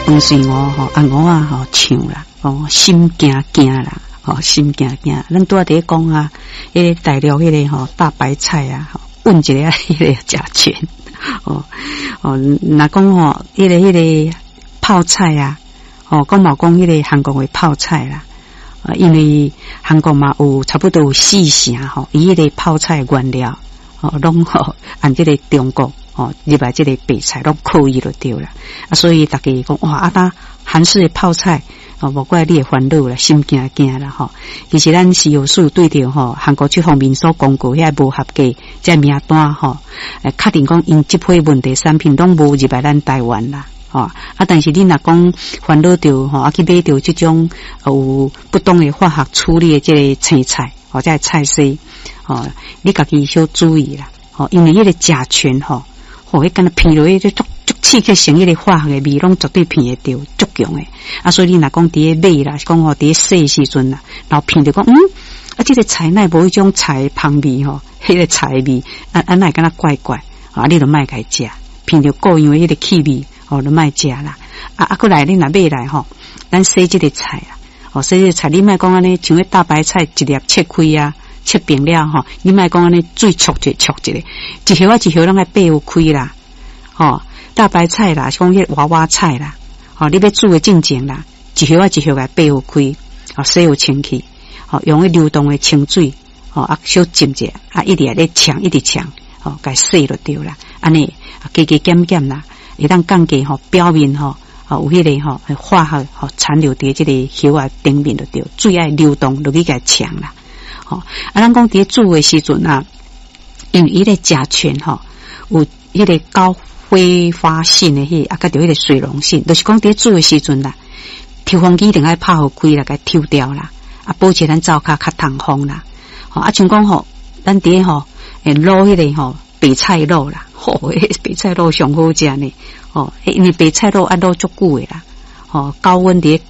飯水魚吼，啊魚仔吼唱啦，哦，心驚驚啦，吼，心驚驚。咱拄仔佇咧講啊，彼個大陸彼個吼大白菜啊，混一个彼個甲醛，哦哦，若講吼，彼個泡菜啊，哦，講嘛講彼個韓國的泡菜啦，啊，因為韓國嘛有差不多有四成吼，伊彼個泡菜原料，哦，攏吼按這個中國。哦，入來這個白菜攏靠伊就對啦，啊，所以逐家講哇，啊，呾韓式的泡菜，哦，無怪你會煩惱啦，心驚驚啦吼。其實咱食藥署對著吼韓國這方面所公告遐無合格這名單吼，確定講𪜶這批問題產品攏無入來咱台灣啦。吼啊！但是你若講煩惱著吼，啊去買著這種有不當的化學處理的這个青菜或者菜絲，吼，你家己小注意啦，吼，因為彼個甲醛吼。哦，彼敢若鼻落去，就足足刺激性，彼個化學的味，攏絕對鼻會著，足強的。啊，所以你若講佇咧買啦，是講吼佇咧洗時陣啦，然後鼻著講，嗯，啊，這個菜哪無彼種菜芳味吼，彼個菜味，啊啊，哪會敢若怪怪？啊，你就莫共伊食，鼻著固樣的彼個氣味，哦，就莫食啦。啊啊，閣來你若買來吼，咱洗這個菜啊，哦，洗這個菜，你莫講按呢，像彼大白菜一粒切開啊。切平了吼，你莫講按呢水焯一下焯一下，一葉仔一葉攏愛掰開啦，吼，大白菜啦，是講彼娃娃菜啦，吼，你欲煮的進前啦，一葉仔一葉共掰開，吼，洗好清氣，吼，用彼流動的清水，吼，啊，小浸者，啊，一直咧沖，一直沖，吼，共洗就對啦，按呢加加減減啦，會當降低吼表面吼，吼有彼個吼化學吼殘留佇這個葉仔頂面就對，水愛流動落去共沖啦。吼，啊，咱講佇咧煮的時陣啊，因為彼個甲醛吼有彼個高揮發性的彼個，啊，佮著彼個水溶性，就是講佇咧煮的時陣啦，抽風機一定愛拍予開啦，共抽掉啦，啊，保持咱灶跤較通風啦。吼，啊，像講吼，咱佇咧吼，滷彼個吼白菜滷啦，吼，白菜滷上好食呢，吼，因為白菜滷愛滷足久的啦，吼，高溫佇咧。